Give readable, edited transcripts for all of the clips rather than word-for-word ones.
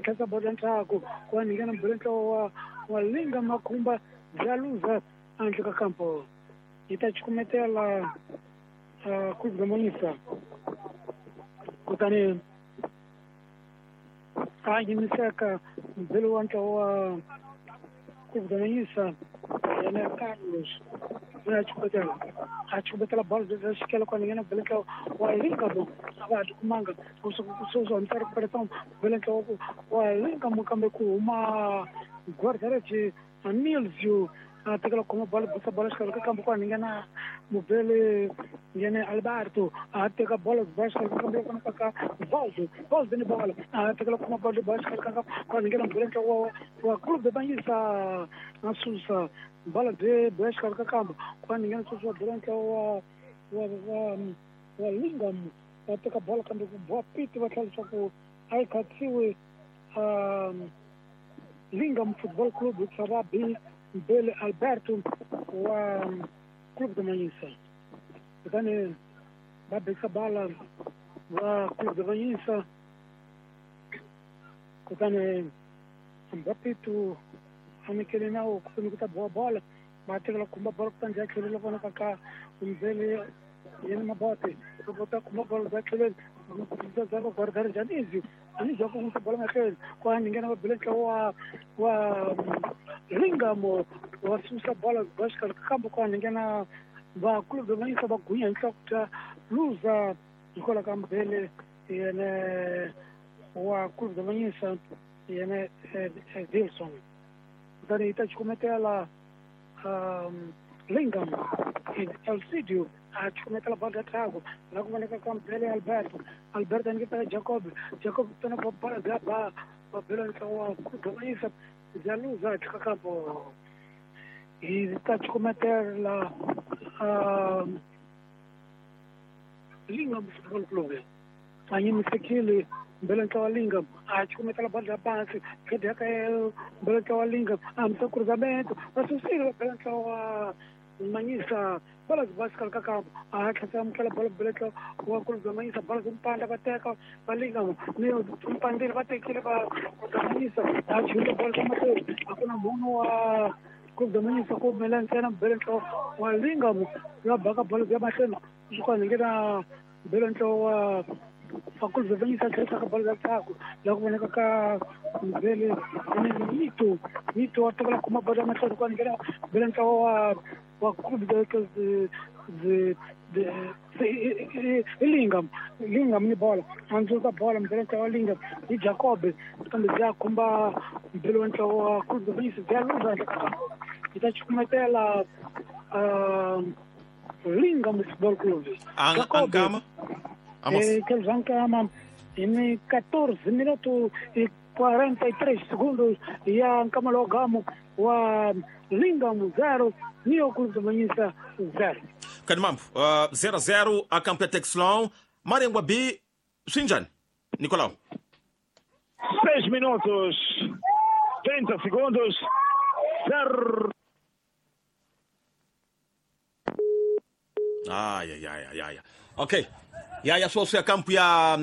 Khetsa bola ndzhaku ku nghena mbele ntlawa wa Linga Makhumba bya luza handle ka kampo. Yi ta cukumetela Clube da Manhiça. Kutani a yimiseka mbele wa ntlawa wa Clube da Manhiça yena Carlos loyi a cukumetela a cukumetela bolo bya xikele ku nghena mbele ntlawa wa Linga mo a va ha tikumanga sweswi hambi ri peleta mbele ntlawa wa Linga mo kambe ku huma guarda-redes Nilsio a tekela khoma bolo bisa bolo xikarhi ka kambe ku nghena mubele nghene Alberto a teka bolo ba xikarhi ka kambe ku ka Valdo Valdo ni bolo a tekela khoma bolo ba xikarhi ka ku nghena mubele ntlawa wa Clube da Manhiça a susa bolo bye ba xikarhi ka kambe ku nghena sweswi wa bele ntlawa wa Lingam va teka bolo kambe ku boha piti va tlhela leswaku a yi khatsiwi Lingam Football Club hi ba Mbele Alberto wa Clube da Manhiça. Kutani va bekisa bala va Clube da Manhiça. Kutani Mbapitu a nyikele nawu kutani ku ta boha bola va tekela khumba bola kutani bya tlhelela vonaka ka Mbele yena Mabote loko ta khumba bola bya tlheleni bya ka guarda Janizio Anizio ku n'wisa bola mahlweni ku a nghena va bele ntlawa wa Lingamo wa susa bola ba xikarhi ka kambe ku a nghena va Clube da Manhiça va gunya hi nhloko bya luza hikwalaho ka Mbele yena wa Clube da Manhiça yena Wilson. Kutani yi ta cukumetela Lingam Elcidio a cukumetela bolo ya ndzhaku la ku vonaka ka Mbele Alberto Alberto a nyiketa Jacob Jacob tona bola bya ba va bela ntlawa wa Clube da Manhiça bya luza handle ka kampo. Hi ta cukumetela Lingam Football Club a yimisekile mbele ntlawa wa Lingam a cukumetela bolo ya pansi khedi ya ka mbele ntlawa wa Lingam a hambisa cruzamento va susile va bela ntlawa wa Manhiça bola byi xikarhi ka kampo a tlhela amukela bolo bele ntlawa wa Clube da Manhiça bola byi mpandla va teka va Lingam ni mpandlile va tekile va da Manhiça a chulile bolo ka mahlweni a ku na munhu wa Clube da Manhiça ku humelela ntsena mbele ntlawa wa Lingam ya baka bolo bya mahlweni swi kona nghena mbele ntlawa wa Clube da Manhiça tlherisaka bolo ya ndzhaku la ku vonaka ka Mbele Mito Mito wa tekela khoma bolo ya mahlweni ku nghena mbele ntlawa wa Clube i Lingam Lingam ni bola a ndzuka bola mbele ntlawa wa Lingam hi Jacob kambe bya khumba mbele wa ntlawa wa Clube da Manhiça bya luza yi ta cukumetela Lingam Football Club. Ankama Kelvankama em 14 minutos e 43 segundos ya nkama lowa gamu wa Lingam 0 Neo Clube da Manhiça 0. Kanimambo 0-0 a campo ya Texlon Marengwa B swinjani Nicolau. 6 minutos 30 segundos 0. Ai ai ai ai. Ok. Ya sweswi ya kampo ya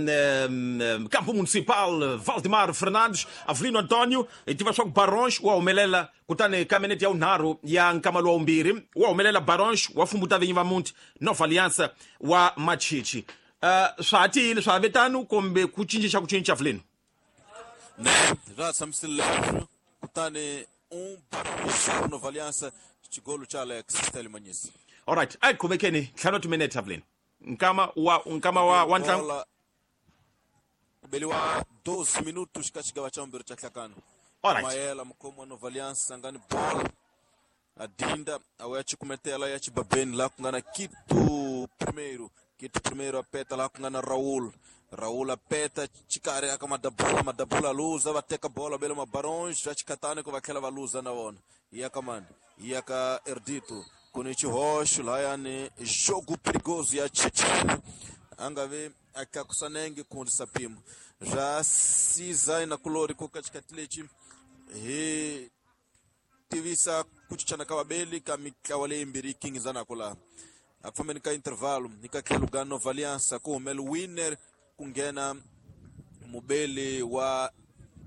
campo municipal Valdemar Fernandes Avelino Antonio hi tiva swa ku Barons wa humelela kutani ka minete ya vunharhu ya nkama lowa vumbirhi wa humelela Barons wa fumbuta vinyi va muti Nova Aliança wa Machichi. Swa ha tiyile swa ha ve tano kumbe ku cinca xa ku cinca Avelino? Ne, swa tshamisile leswo kutani Barons Nova Aliança xigolo cha Alex Stanley Manyisi. Alright, a hi qhubekeni ntlhanu wa timinete Avelino. Nkama wa ntlangu kubeliwa 12 minutos ka xigava xa vumbirhi xa nhlakano. Alright. Mayela mukhomi wa Nova Aliança a nga ni bola a dinda a ya cukumetela ya xibabeni laha ku nga na Kito Primeiro. Kito Primeiro a peta laha ku nga na Raul. Raul a peta xikarhi aka Madabula Madabula luza va teka bola bele mabarons va xikhatani ku va tlhela va luza na vona. Ya ka mani ya ka Erdito ku ni xihoxo lahayani jogo perigoso ya Chichini a nga vi a tlakusa nenge ku hundzisa mpimo swa siza na kulori ku ka xikati lexi hi tivisa ku cincana ka vabeli ka mitlawa leyimbirhi yi kingizanaka laha a fambeni ka intervalo hi ka tlhelo ka Nova Aliança ku humela winner ku nghena mubeli wa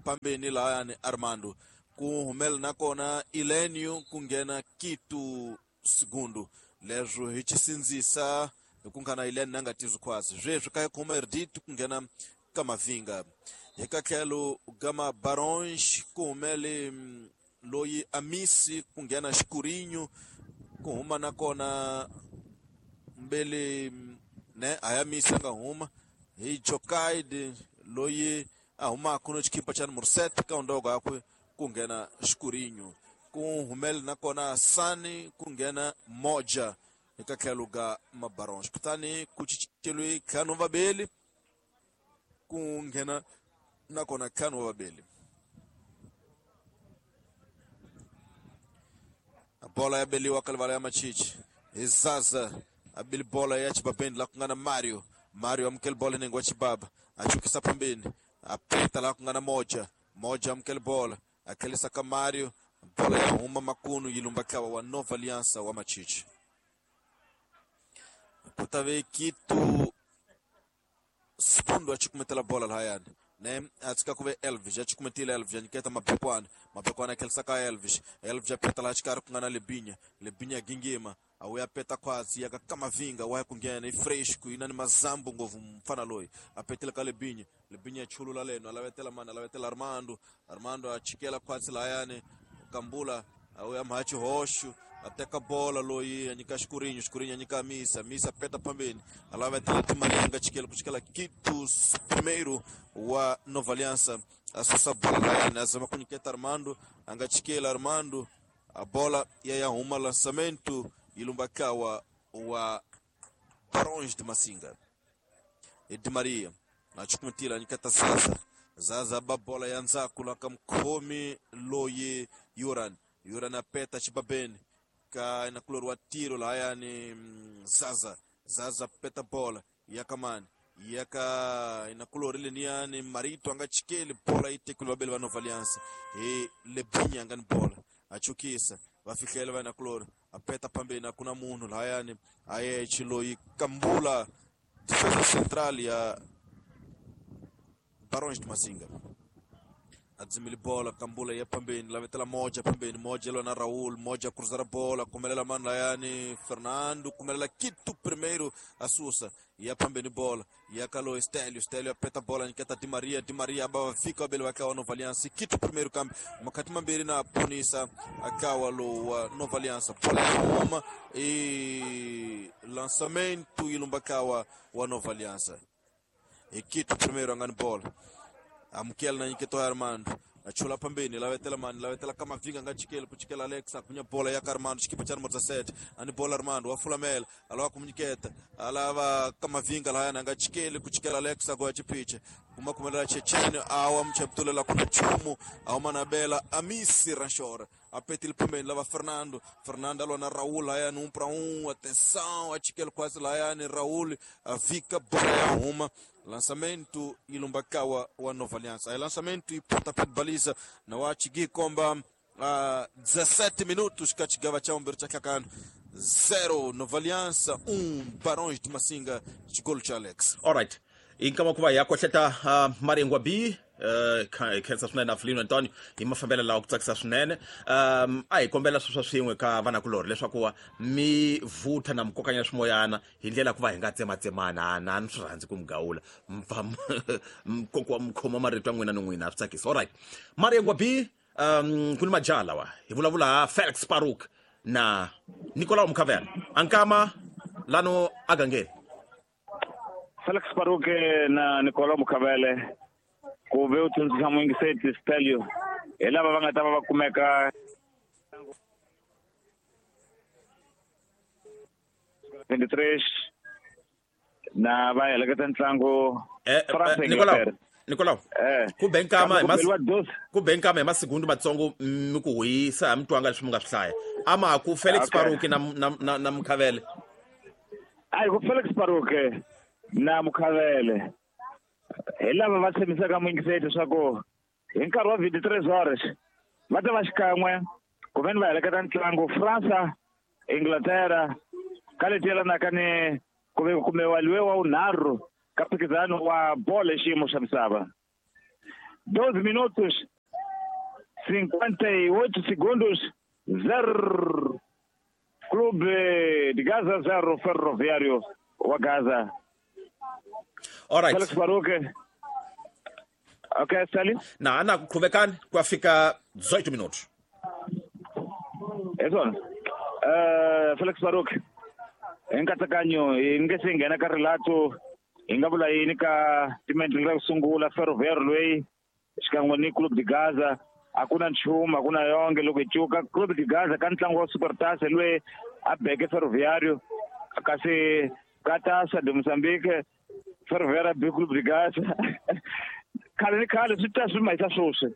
pambeni lahayani Armando ku humela nakona Elenio ku nghena Kitu Segundo leswo hi chisindzisa hi ku nghena Elenio na nga tizwi khwatsi sweswi ka khoma Erdito ku nghena Kamavinga hi ka tlhelo gama Barons ku humele loyi Amisi ku nghena Xikurinho ku huma nakona mbele ne Ayamisi a nga huma hi Jokaide loyi a humaka no xikipa xa numero 7 ka ndogo yakwe ku nghena Xikurinho ku humele nakona Sani ku nghena Moja eka tlhelo ga Mabarons kutani ku cinceliwe ntlhanu vabeli ku nghena nakona ntlhanu wa vabeli bola ya beliwa ka livala ya Machichi hi Zaza abili bola ya chibabeni la kungana Mario Mario amukele bola nengo wa chibaba achukisa pambeni apeta la kungana Moja Moja amukele bola akhelisa ka Mario bola ya huma makunu yilumba kawa wa Nova Aliança wa Machichi kutave Kitu Spundo achikumetela bola lahayani ne atsika kuve Elvis achikumetile Elvis aniketa Mapekwana Mapekwana akhelisa ka Elvis Elvis apeta la chikari kungana Lebinya Lebinya gingima awuya peta khwatsi yaka Kamavinga wa kungena i fresco inani mazambu ngovu mfana loyi apetela ka Lebinya Lebinya chulula leno alavetela mana alavetela Armando Armando achikela khwatsi lahayani Kambula awuya mhachi hoshu ateka bola loyi anyika Xikurinho Xikurinho anyika Misa Misa peta pambeni alavetela Timaringa chikela kuchikela Kitu primeiro wa Nova Aliança asusa bola lahayani azama kunyiketa Armando angachikela Armando a bola yayahuma lançamento ilumbakawa wa Barões de Massinga e de Maria achukumitila anyiketa Zaza Zaza babola ya nzaku lakamkhomi loyi Yuran Yuran apeta chibabeni ka inakulori wa tiro lahayani Zaza Zaza peta bola yakamani yaka inakulori leniyani Marito angachikeli bola itekuli babeli va Nova Aliança e Lebinya angani bola achukisa vafikela va inakulori apeta pambeni akuna munhu lahayani ayechi loyi Kambula defesa central ya Barões de Massinga adzimile bola Kambula ya pambeni lavetela Moja pambeni Moja lona Raul Moja cruzar a bola kumelela mano layani Fernando kumelela Kitu primeiro asusa ya pambeni bola ya kalo Stelio Stelio apeta bola niketa Di Maria Di Maria abava fika bele wakawa Nova Aliança Kitu primeiro kambi makati mambiri na punisa akawa lo Nova Aliança bola ya Roma e lançamento ilumbakawa wa Nova Aliança e Kitu primeiro angani bola amukela na nyiketo Armando achula pambeni lavetela mani lavetela Kamavinga ngachikela kuchikela Alexa kunya bola ya Armando chikipa cha numero 17 ani bola Armando wafulamela alawa kumnyiketa alava Kamavinga lahayana ngachikele kuchikela Alexa kwa chipiche kumakumela Chechene awa mcheptulela kuna chumu awa manabela Amisi Ranchora apetil pambeni lava Fernando Fernando alona Raul lahayana 1 para 1 atenção achikela quase lahayana Raul avika bola ya huma lançamento ilumbakawa wa Nova Aliança. Aí lançamento e pontapé de baliza na wachigi komba 17 minutos kachigava cha umbero chakakano 0 Nova Aliança 1 Barões de Massinga chigolo cha Alex. All right. Inkama kuva yakohleta Maringwa B khensa swinene na Felino Antonio hi mafambelo lawa ku tsakisa swinene a hi kombela sweswo swin'we ka vanakulorhi leswaku mi vutha na mikokanya swimoyana hi ndlela ku va hi nga tsematsemana na ni swi rhandzi ku mi gawula mpfa mukoko mi khoma marito ya n'wina ni n'wina a swi tsakisa. Alright, Maringwa B ku ni majaha lawa hi vulavula ha Felix Paruk na Nicolau Mukhavela ankama lano agangeni Felix Paruk na Nicolau Mukhavele ku ve u tsundzuxa muyingiseti Stelio hi lava va nga ta va va kumeka 23 na va heleketa ntlangu Nicolau ku benkama hi masigundu matsongo mi ku hisa mi twanga leswi mi nga swi hlaya ama ku Felix Paruk na Mukhavele a ku Felix Paruk na Mukhavele hi lava va tshembisaka muyingiseti leswaku hi nkarhi wa 23 horas va ta va xikan'we ku veni va heleketa ntlangu Fransa Inglaterra ka leti yelanaka ni ku ve kumiwa luwe wa vunharhu ka mphikizano wa bolo xiyimo xa misava. 12 minutos 58 segundos, 0 Clube de Gaza, 0 Ferroviário wa Gaza. All right. Felix Baruque. Ok, Sally? Na ana kuqhubekani kwafika 18 minutos. Hi swona. Felix Baruque. Hi nkatsakanyo hi nge se nghena ka rilato hi nga vula yini ka timendlele ra ku sungula Ferroviário loyi xikan'we ni Clube de Gaza. A ku na nchumu, a ku na yonge loko hi cuka Clube de Gaza ka ntlangu wa Supertas loyi a beke Ferroviário, kasi ka Taça de Moçambique Ferroviário a be Clube de Gaza. Khale ni khale swi ta swi mahisa swoswi.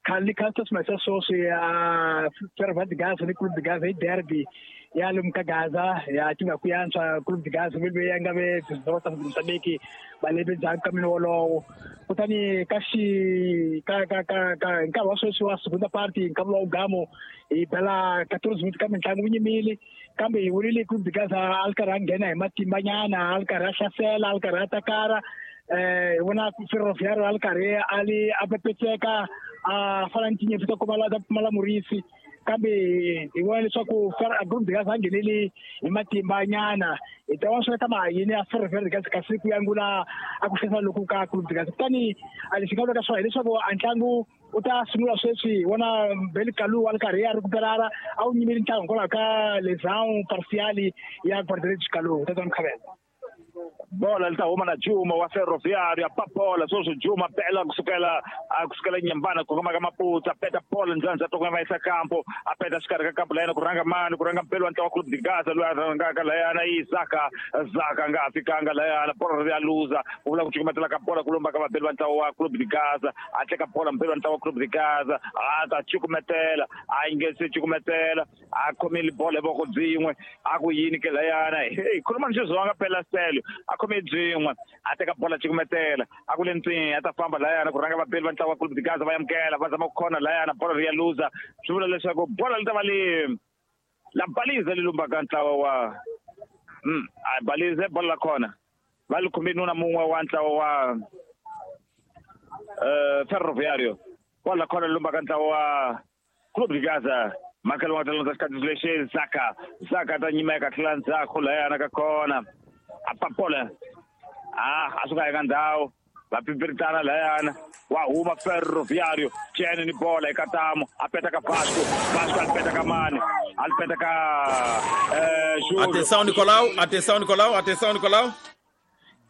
Khale ni khale swi mahisa swoswi ya Ferroviário de Gaza ni Clube de Gaza hi derby ya lomu ka Gaza ya tiva ku yantswa Clube de Gaza ve ya nga ve ta Moçambique malembe ndzhaku ka mina wolowo. Kutani ka xi ka ka ka ka nkarhi wa sweswi wa segunda party nkarhi wa ugamo hi bela 14 minutes ka mitlangu wu nyimile, kambe hi vonile Clube de Gaza a ri karhi a nghena hi matimbanyana, a ri karhi a hlasela, a ri karhi a takara. Hi vona Ferroviário a ri karhi a li a pepetseka a fana ni tinyimpfu ta pfumala ta pfumala murisi, kambe hi vona leswaku Clube de Gaza a ngheneli hi matimbanyana. Hi ta vona swi ta ma yini a Ferroviário de Gaza kasi ku yangula a ku hlasela loku ka Clube de Gaza. Kutani a lexi nga vulaka swona hileswaku a ntlangu u ta sungula sweswi. Hi vona Beli Kalu a ri karhi a recuperara, a wu nyimeli ntlangu hikwalaho ka lesão parcial ya guarda-redes Kalu. Tatana Mkhabela. Bola li ta huma na Juma wa Ferroviário, a bola sweswi Juma bela kusukela kusukela nyambana ku koma ka Maputo, a peta bola ndzandza to va yisa kampo, a peta xikarhi ka kampo layena ku rhanga mani, ku rhanga mpelo wa ntlawa Clube de Gaza loyi a rhangaka layana i Zaka. Zaka nga fikanga layana, bola ri ya luza, ku vula ku cukumetela ka bola ku lomba ka vabeli va ntlawa wa Clube de Gaza, a teka bola mpelo wa ntlawa wa Clube de Gaza, a ta cukumetela, a yi nge se cukumetela, a khomile bola hi voko byin'we, a ku yini ke layana, hey khuluma ni xizonga phela Stelio, a khome byin'we, a teka bola cukumetela, a ku le ntswini, a ta famba layana ku rhanga vabeli va ntlawa wa Clube de Gaza va amukela, va zama ku khona layana, bola ri ya luza, swi vula leswaku bola li ta va li la baliza li lumbaka ntlawa wa a balize bola la khona va li khome nuna mun'we wa ntlawa wa Ferroviário, bola la khona li lumbaka ntlawa wa Clube de Gaza. Makelo wa talonza xikati lexi Zaka, Zaka ta nyimeka tlhela ndzhaku layana ka khona, a papola a suka eka ndhawu va pipiritana layana, wa huma Ferroviário Chene ni bola eka tamu, a peta ka Vasco, Vasco a peta ka mani, a peta ka Atenção Nicolau, atenção Nicolau, atenção Nicolau.